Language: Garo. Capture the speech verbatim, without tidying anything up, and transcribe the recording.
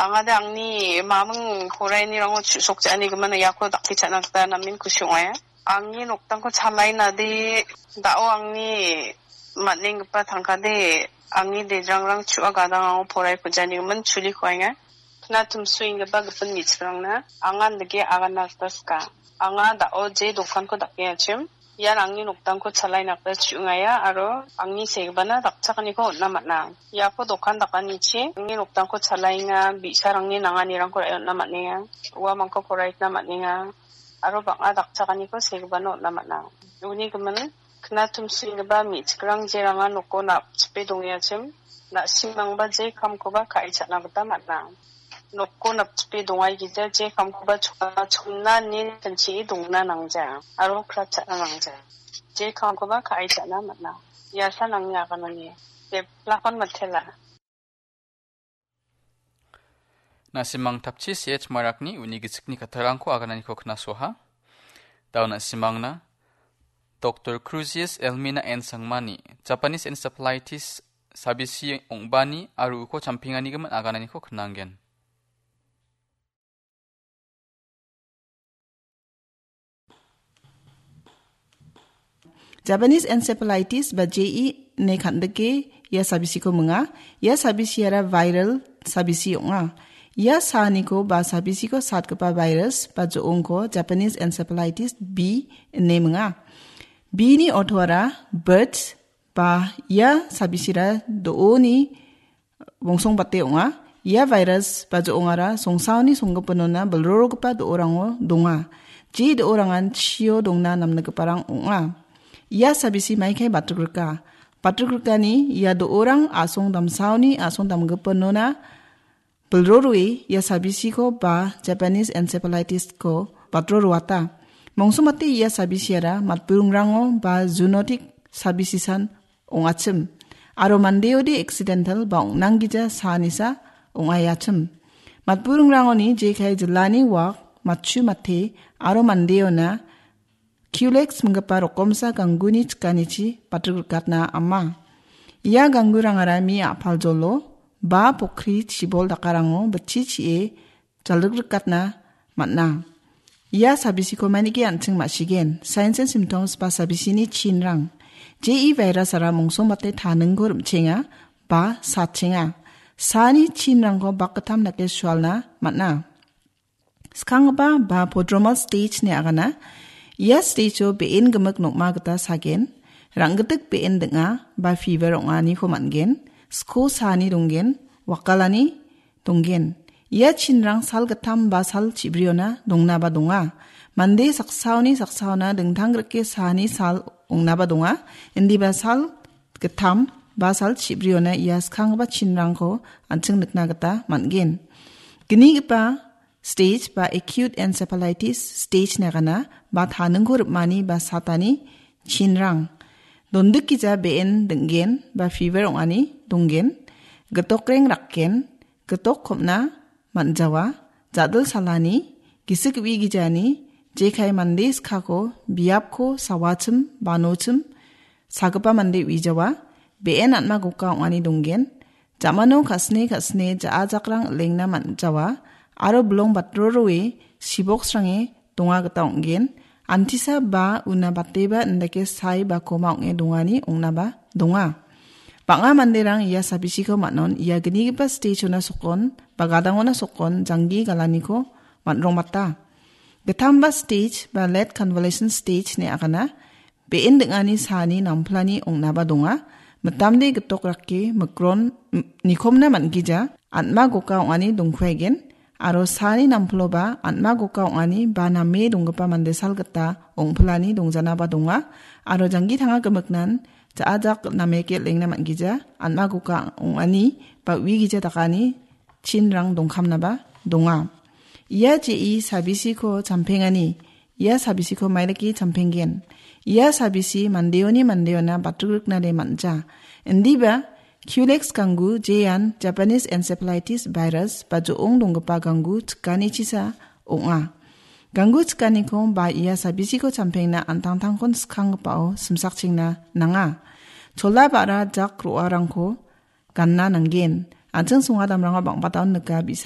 Angade angni maming poraianirango chu·sokja·anigimin iako dakchakna gita namen kusi ong·aia. Angni noktangko chalainade, da·o angni man·enggipa tangkade, angni dejrangrang chu·a gadang ango porai pujanigimin chuli koaenga. Kna tumsu inggipa gipin me·chikrangna angan dake agana gita sika. Anga da·o je dokanko dakengachim, ian angni noktangko chalaina gita chu·ngaia aro angni segipana dakchakaniko on·na man·a. Iako dokan dakanichi angni noktangko chalaenga, bi·sarangni nanganirangko ra·e on·na man·enga, uamangko poraitna man·enga, aro bang·a dakchakaniko segipana on·na man·a. Uni gimin, kna tumsu inggipa me·chikrang jerangan noko napchipe dongengachim, na·simangba je kamkoba ka·e cha·na gita man·a. Noko napchipe dongaigija je kamkoba chona chonna ine tinchie dongna nangja, aro kratchakna nangja. Je kamkoba ka·e cha·na man·a. Iasa nangni aganani. Jeplakon matela. Na·simang tapchi C H Marakni uni gisikni kattarangko agananiko knasoha. Dao na·simangna Doktor Cruzius Elmina N Sangmani, Japanese encephalitis sabisi ong·bani aro uko champenganigimin agananiko knanggen. Japanese encephalitis ba J E ine kan·dike ia sabisiko minga. Ia sabisiara viral sabisi ong·a. Ia saaniko ba sabisiko satgipa virus ba jo·ongko Japanese encephalitis B ine minga. B ni ortoara birds ba ia sabisira do·oni bongsongbate ong·a. Ia virus ba jo·ongara songsaoni songgipinona bilrorogipa do·orango donga. Je do·orangan chio dongna namnigiparang ong·a. Ia sabisi maikai batrikrika. Batrikrikani ia do·orang a·song damsaoni a·song damgipinona bilroroe ia sabisiko ba Japanese encephalitis-ko batroroata. Mongsongbate ia sabisiara matburingrango ba zoonotic sabisisan ong·achim. Aro mandeode accidental ba ong·nanggija saanisa ong·aiachim. Matburingrangoni jekai jilani wak, matchu mate aro mandeona Culex minggipa rokomsa gangguni chikanichi batrikrikatna ama. Ia ganggurangara mi a·paljolo ba pokri chibol dakarango bitchi chi·e jalrikrikatna man·a. Ia sabisiko manike an·ching ma·sigen, signs and symptoms ba sabisini chinrang. J E virus-ara mongsongbate taningko rim·chenga ba satchenga. Saani chinrangko bakgittam dake sualna man·a. Skanggipa ba prodromal stage ine agana. Ia stage-o be·en gimik nokma gita sagen, rang·gitik be·en ding·a ba fever ong·aniko man·gen, sko saani donggen, wakalani donggen. Ia chinrang sal gittam ba sal chibriona dongnaba donga. Mande saksaoni saksaona dingtang grike saani sal ong·naba donga. Indiba sal gittam ba sal chibriona ia skanggipa chinrangko an·ching nikna gita man·gen. Gnigipa stage ba acute encephalitis stage ine agana ba taningko rim·ani ba satani chinrang. Dondikgija be·en ding·gen ba fever ong·ani donggen. Gitokreng rakgen, gitok kom·na man·jawa, ja·dil salani, gisik uigijani, jekai mande skako, biapko sawachim, banochim, sagipa mande uijawa, be·en an·ma goka ong·ani donggen, ja·mano ka·sine ka·sine ja·a jakrang ilengna man·jawa, aro bilong batroroe siboksrange donga gita ong·gen, antisa ba una bateba indake sai ba koma ong·e dongani ong·naba donga. Bang·a manderang ia sabisiko man·on ia gnigipa stage-ona sokon ba gadangona sokon janggi galaniko man·rongmata. Gittamba stage ba late convalescent stage ine agana. Be·en ding·ani saani namplani ong·naba donga. Mitamde gitok rake mikron, m-, nikomna man·gija, an·ma goka ong·ani dongkuaigen. Aro saani namploba an·ma goka ong·ani ba name donggipa mande sal gita ong·pilani dongjanaba donga. Aro janggi tanga gimiknan ja·a jak nameke lengna man·gija, an·ma goka ong·ani ba uigija dakani chinrang dongkamnaba donga. Ia je·i sabisiko champengani, ia sabisiko maidake champenggen. Ia sabisi mandeoni mandeona batrikna de man·ja. Indiba Culex ganggu jean Japanese encephalitis virus ba jo·ong donggipa ganggu chikanichisa ong·a. Ganggu chikaniko ba ia sabisiko champengna an·tangtangkon skanggipao simsakchengna nanga. Chola ba·ra jak ro·arangko ganna nanggen. An·ching songa damrango bang·bataon nika bi·sa